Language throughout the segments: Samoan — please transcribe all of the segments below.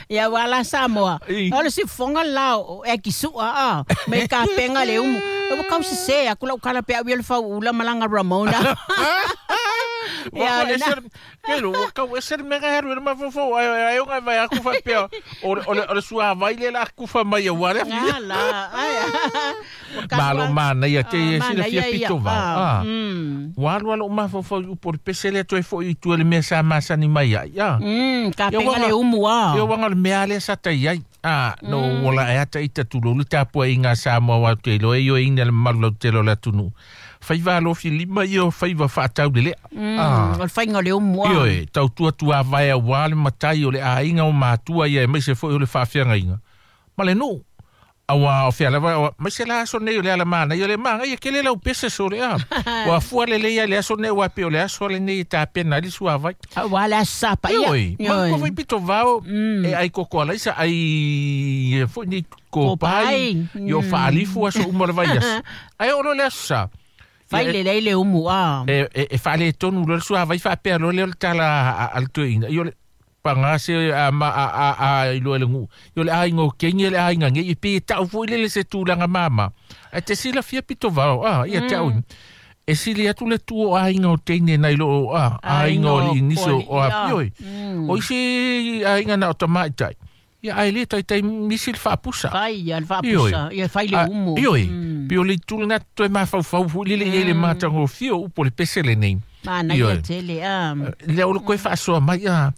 Ia aua la Samoa, o le siufofoga le la o Akisu'a a, mai kapega le umu. Ua tau sese atu lau tala pe au ia le fauula ma lana Ramona. Ia, o lena. Kelo, ua tau ese le mea e alu i le mafaufau, ai ai ona e vaai atu faapea, o le, o le, o le suavai lea o le a tufa mai aua le Nga la, ai. Malo manaia te ia silafia pito vao. Ah. Ua alu lava lou mafaufau i upu o le pese lea toe foi i tua i le mea sa masani mai ai. Ah. Kapega le umu ah. Ia uaga o le mea lea sa tai ai. Ah, no ua la e ata ita tulou le tapuaiga a Samoa aua ou te iloa e ioeina le mamalu lautele o le atunuu. Faiva alofi lima ia o faiva faataulelea. Ah. O le faiga o le umu ah. Ioe, tautua tuavae aua le matai o le aiga o matua ia aemaise foi o le faafeagaiga ma le nuu. Aua o fea lava, aemaise la aso nei o le ala manaia, o le manaia tele lau pese sole a. Ua fua lelei lava i le aso nei aua e pei o le aso lenei e tapena ai le suavai. Aua le aso sapaia. Ioe, matou foi pito vao e ai koko alaisa, ai foi nei kopai, io faalifu aso uma o le vaiaso. Ae oo loa i le aso sa, Fai lelei le umu a. E faaletonu loa le suavai faapea loa lea o le tala a le toeaina, io le Paga se a ma a a a iloa e le nuu. I o le aiga o Keni le aiga nei e pei e tau foi lele se tulaga mama. Ae te silafia pito vao a ia te au e sili atu le tu o aiga o teine nai lo o a aiga o alii nisi o a ioe. O isi aiga na o tamaitai. Ia ae le taitai misi le faapusa. Fai ia le faapusa, ia fai le umu. Ioe, pei o le itu lena toe mafaufau foi lele i ai le matagofie o upu o le pese lenei. Manaia tele, a. Lea o le koe faasoa mai, a,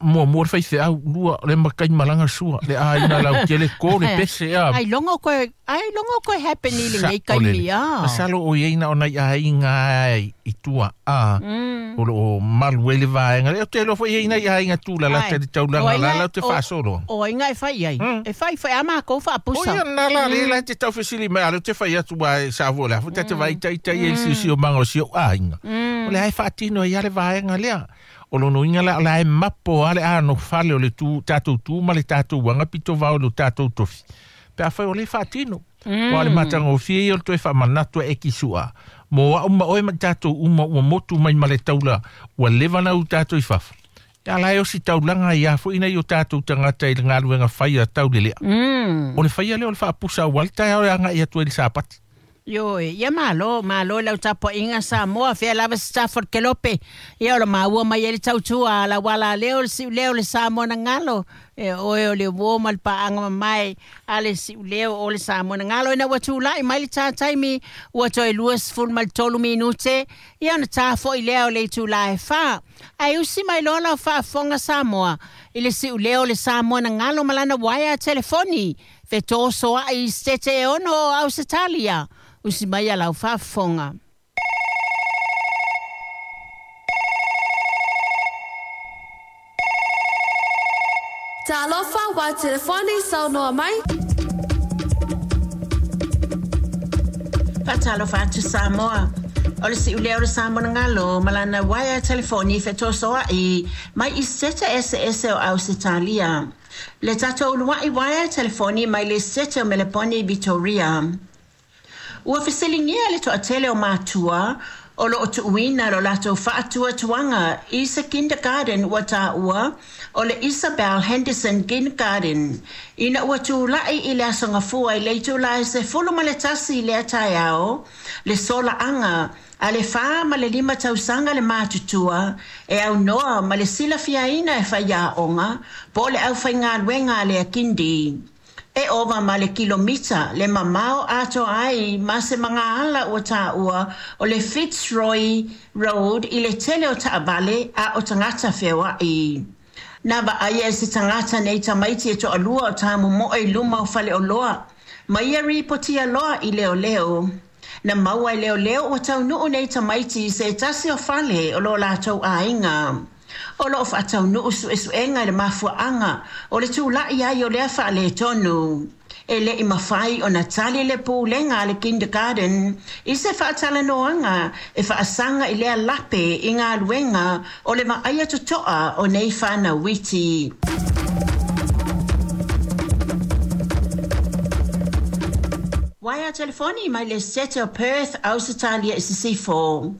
muamua le faifeau, lua le makai malaga sua, le aiga lautele, ko le pese, a. Ai logo koe, ai logo koe happen i lenei taimi, a. Masalo o i ai na o nai aiga i tua, a, o lo o malu ai le vaega lea. Ou te iloa foi e i ai nai aiga tulalata i le taulaga la latou te faasolo. O ai nga e fai ai? E fai fai a makou faapusa. O ia na la le la te tau fesili mai, a lea ou te fai atu aua e sa foi o le a foi ta te vaai itaita ia i le siosiomaga o si ou aiga. O lea e faatino ai lava le vaega lea. O lona uiga la, o la e mapo lava le anofale o le tu, tatou tu ma le tatou aga pito vao i lo tatou tofi, pe afai o lea e faatino. Aua o le matagofie ia o le toe faamanatu e Ekisu'a, mo au ma oe ma i tatou uma ua motu mai ma le taula ua leva ona u tatou i fafo. Ia la e osi taulaga ai a foi nai o tatou tagata i le galuega fai a taulelea. O le faia lea o le faapusa aua le taeao e agai atu ai i le Sapati. Ioe, ia malo, malo i lau tapuaiga Samoa, fea lava se tafa o le kelope, ia o lo maua mai ai le tautua a lau ala leo, le siuleo, le Samoa na galo, e oe o le uo ma le paaga mamae a le siuleo o le Samoa na galo. Ina ua tulai mai le tā taimi, ua toe 23 minute, ia ona tā foi lea o le itula e 4. Ae usi mai loa lau faafofoga Samoa i le siuleo o le Samoa na galo ma lana uaea telefoni, Fetosoaʻi i Setete e ono o Ausetalia, usi mai a lau faafofoga. Talofa wa telefoni saunoa mai. Faatalofa atu Samoa. O le siulea o le Samoa na galo ma lana uaea telefoni fetosoaʻi mai i Setete eseese o Ausetalia. Le tatou uluaʻi uaea telefoni mai le Sete o Meleponi i Vitoria. Ua fesiligia le toatele o matua o lo o tuuina lo latou faatuatuaga i se kindergarten ua taua o le Isabel Henderson Kindergarten ina ua tulai i le Aso Gafua i le itula e 11 i lea taeao le solaaga A le 45 tausaga le matutua e aunoa ma le silafiaina e faiaoga po o le aufaigaluega a le Akindi. E ova ma le kilomita le mamao atoa ai ma se magaala ua taua o le Fitzroy Road i le tele o taavale a o tagata feoai. Na vaaia e se tagata nei tamaiti e toalua o tamomoe i luma o faleoloa ma ia ripotia loa i leoleo. Na maua e leoleo ua taunuu nei tamaiti i se tasi o fale o lo latou aiga. O lo o faataunuu suesuega i le mafuaaga o le tulai ai o lea faaletonu. E le i mafai ona tali le pulega a le kindergarten i se faatalanoaga e faasaga i lea lape i galuega o le vaaia totoa o nei fanau iti. Waea telefoni mai le Sete o Perth, Ausetalia i Sisifo.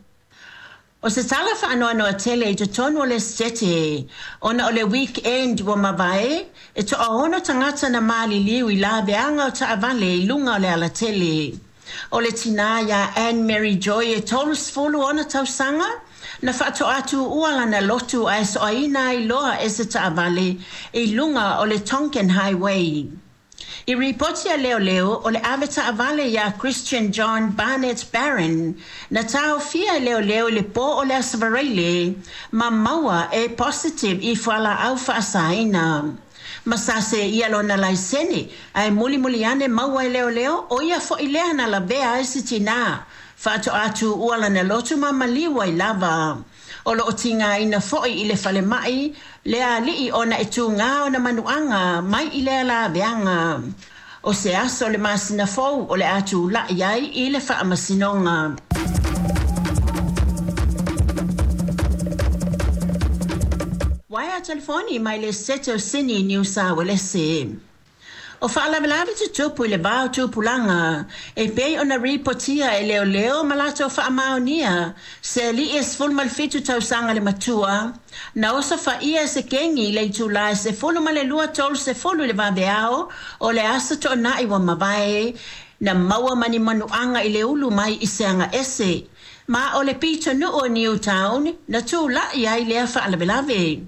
O se tala faanoanoa tele i totonu o le Esetete, ona o le weekend ua mavae, e toaono tagata na maliliu i laveaga o taavale i luga o le alatele. O le tinā iā Anne Mary Joy e 30 ona tausaga, na faatoa tuua lana lotu ae soaina ai loa e se taavale i luga o le Tonkin Highway. I ripoti a leoleo, o le ave taavale iā Christian John Barnett Barron, na taofia e leoleo i le pō o le Aso Faraile ma maua e positive i fualaau faasaina. Ma sa seia lona laisene, ae mulimuli ane maua e leoleo, o ia foi lea na lavea ai se tinā faatoa tuua lana lotu ma maliu ai lava. O lo o tigaina foi i le falemai le alii ona e tuga ona manuaga mai i lea laveaga. O se aso o le masina fou o le a tulai ai i le faamasinoga. Waea telefoni mai le Esetete o Sini, Niu Sa Uelese. O faalavelave tutupu i le va o tupulaga e pei ona ripotia e leoleo ma latou faamaonia se alii e 17 tausaga le matua na osofaia e se kegi i le itulā e 12:30 i le vaveao o le Aso Toonai ua mavae, na maua ma ni manuaga i le ulu mai i se agaese ma o le pitonuu o Newtown na tulai ai lea faalavelave.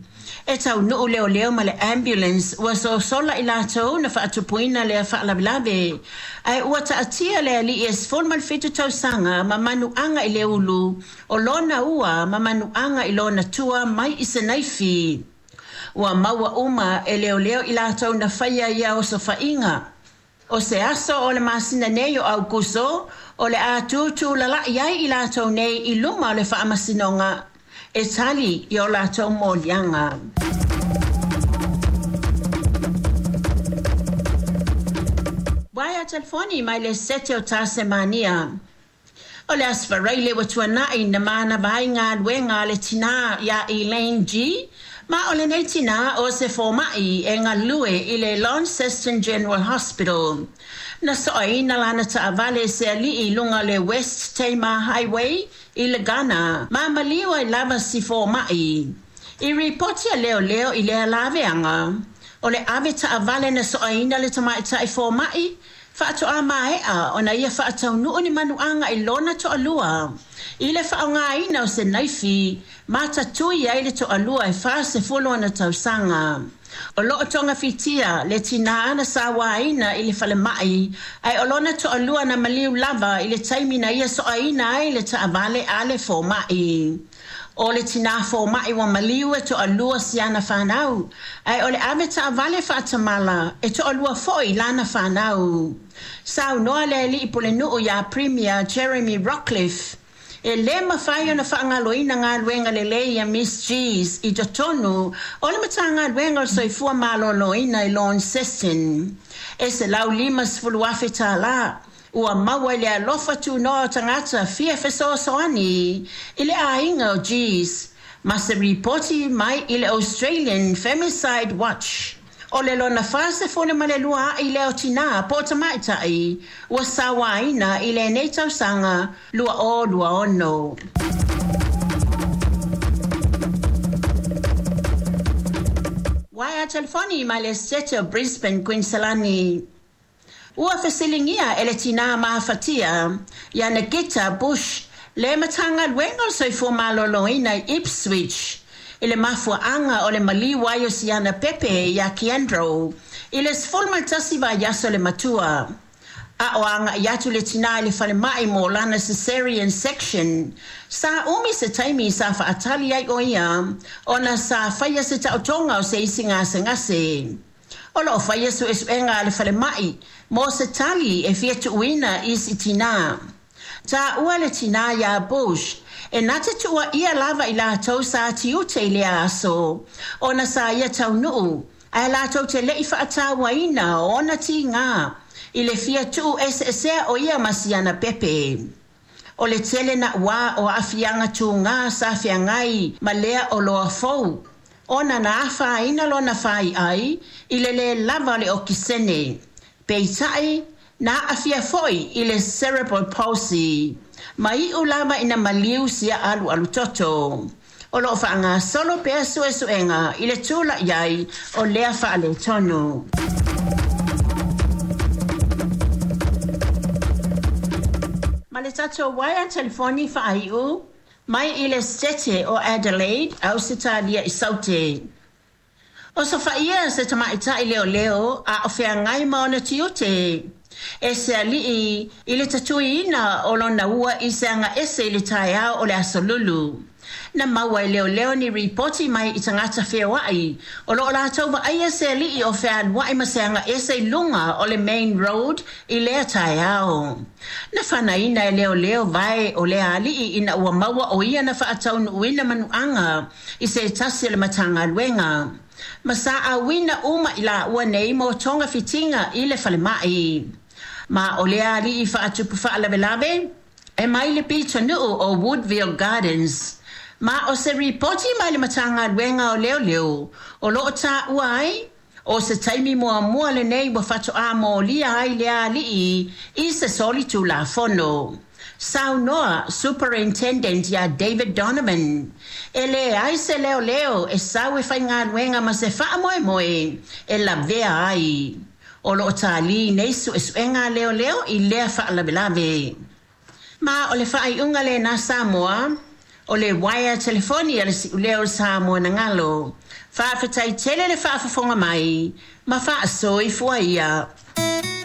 E taunuu leoleo ma le ambulance ua sosola i latou na faatupuina lea faalavelave, ae ua taatia le alii e 17 tausaga ma manuaga i le ulu o lona ua ma manuaga i lona tua mai i se naifi. Ua maua uma e leoleo i latou na faia ia osofaiga. O se aso o le masina nei o Aukuso o le a tutulala'i ai i latou nei i luma o le faamasinoga e tali i o latou moliaga. Waea telefoni mai le Sete o Tasemania. O le Aso Faraile ua tuana'i na manava ai galuega a le tinā iā Elaine G. Ma o lenei tinā o se foma'i e galue i le Launceston General Hospital. Na soaina lana taavale e se alii i luga o le West Tamar Highway i Legana ma maliu ai lava si foma'i. I ripoti a leoleo i lea laveaga, o le ave taavale na soaina le tamaitai foma'i faatoa maea ona ia faataunuu ni manuaga i lona toalua i le faaaogaina o se naifi ma tatui ai le toalua e 40 ona tausaga. O loo togafitia le tinā na sauaina i le falemai, ae o lona toalua na maliu lava i le taimi na ia soaina ai le taavale a le foma'i. O le tinā foma'i ua maliu e toalua si ana fanau, ae o le ave taavale faatamala e toalua foi lana fanau. Saunoa le alii pulenuu iā Premier Jeremy Rockliff e lē mafai ona faagaloina galuega lelei a Miss Gs i totonu o le Matagaluega o le Soifua Maloloina i Launceston. E $150,000 tālā ua maua i le alofa tunoa o tagata fia fesoasoani i le aiga o Gs, ma se ripoti mai i le Australian Femicide Watch, o le lona 42 a'i lea o tinā po o tamaitai ua sauaina i lenei tausaga 2026. Waea telefoni mai le Sete o Brisbane, Queensland. Ua fesiligia e le tinā mafatia ia Nikita Bush le Matagaluega o le Soifua Maloloina i Ipswich i le mafuaaga o le maliu ai o siana pepe iā Keandro i le 11 vaiaso le matua. A o agaʻi atu le tinā i le falemai mo lana cesarean section, sa umi se taimi sa faatali ai o ia ona sa faia se taotoga o se isi gasegase. O loo faia suesuega a le falemai mo se tali e fia tuuina i si tinā. Taua le tinā iā Bush e na te tuuaia lava i latou sa tiute i lea aso ona sa ia taunuu, ae latou te leʻi faatauaina o ona tigā i le fia tuu eseesea o ia ma siana pepe. O le tele nauā o aafiaga tugā sa feagai ma lea oloa fou ona na afaina lona faiai i le lē lava o le okisene. Peitai na aafia foi i le cerebral palsy. Ma iʻu lava ina maliu sia alualu toto. O loo faagasolo pea suesuega i le tulaʻi ai o lea faaletonu. Ma le tatou uaea telefoni faaiu mai i le Setete o Adelaide, Ausetalia i Saute. Osofaia se tamaitai leoleo a o feagai ma ona tiute e se alii i le tatuiina o lona ua i se agaese i le taeao o le Aso Lulu. Na maua e leoleo ni ripoti mai i tagata feoai o loo latou vaaia se alii o fealuai ma se agaese i luga o le Main Road i lea taeao. Na fanaina e leoleo vae o lea alii ina ua maua o ia na faataunuuina manuaga i se tasi o le Matagaluega. Ma saauina uma i laua nei mo togafitiga i le falemai. Ma o lea alii faatupu faalavelave e mai le pitonuu o Woodville Gardens. Ma o se ripoti mai le Matagaluega o Leoleo o loo taua ai o se taimi muamua lenei ua faatoa molia ai lea alii i se solitulafono. Saunoa Superintendent ia David Donovan, e leai se leoleo e sau e faigaluega ma se faamoemoe e lavea ai. O loo talī nei suesuega a leoleo i lea faalavelave. Ma o le faaiuga lena Samoa, o le uaea telefoni a le Si'ulea o Samoa na galo. Faafetai tele le faafofoga mai ma faasoifua ia.